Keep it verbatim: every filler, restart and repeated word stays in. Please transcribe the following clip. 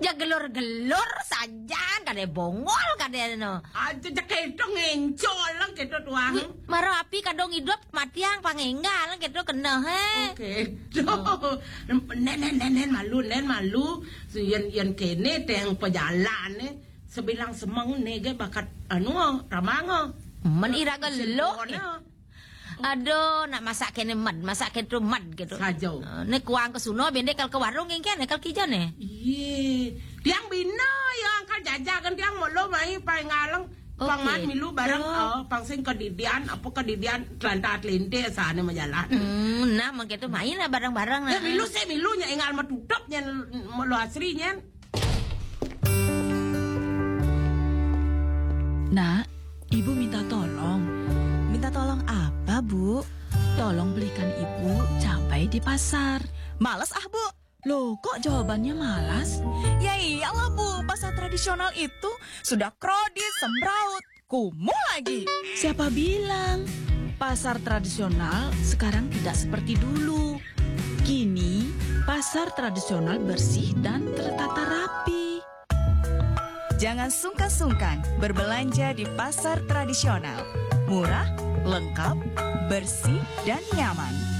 Ya gelur-gelur sajan, kadén bongol, kadén no. Aja cek kéto ngéncol lah kéto tuang. Wih, mara api kadung idup, matiang pang énggal kéto kena, hé. Oké. Nén, nén, nén, nén malu, nén malu. Yén, yén kéné téh pajalané, sebilang semeng né gé bakat anu, ramang. Men ira geluh. Sempurna. Aduh, nak masak kéné med, masak kéto med kéto. Sajo. Ah, né kuang ka sono, bendé kal ka warung, éngkén kal ka ijo né. Yé. Tiang bina ya angkal jajakan tiang molo mai paénggaleng. Oké. Pang mat milu bareng, Oh. Oh, pang sing kadidian, apa kadidian telanta telinte sané majalan. Hmm, nah, mangké to main lah bareng-bareng nah. Ya milu sih milu nya énggal matutup nyén molo asri nyén. Nak, ibu minta tolong. Minta tolong apa, Bu? Tolong belikan ibu cabai di pasar. Males ah, Bu. Loh, kok jawabannya malas? Ya iyalah, Bu. Pasar tradisional itu sudah krodit, semrawut, kumuh lagi. Siapa bilang? Pasar tradisional sekarang tidak seperti dulu. Kini, pasar tradisional bersih dan tertata rapi. Jangan sungkan-sungkan berbelanja di pasar tradisional. Murah, lengkap, bersih, dan nyaman.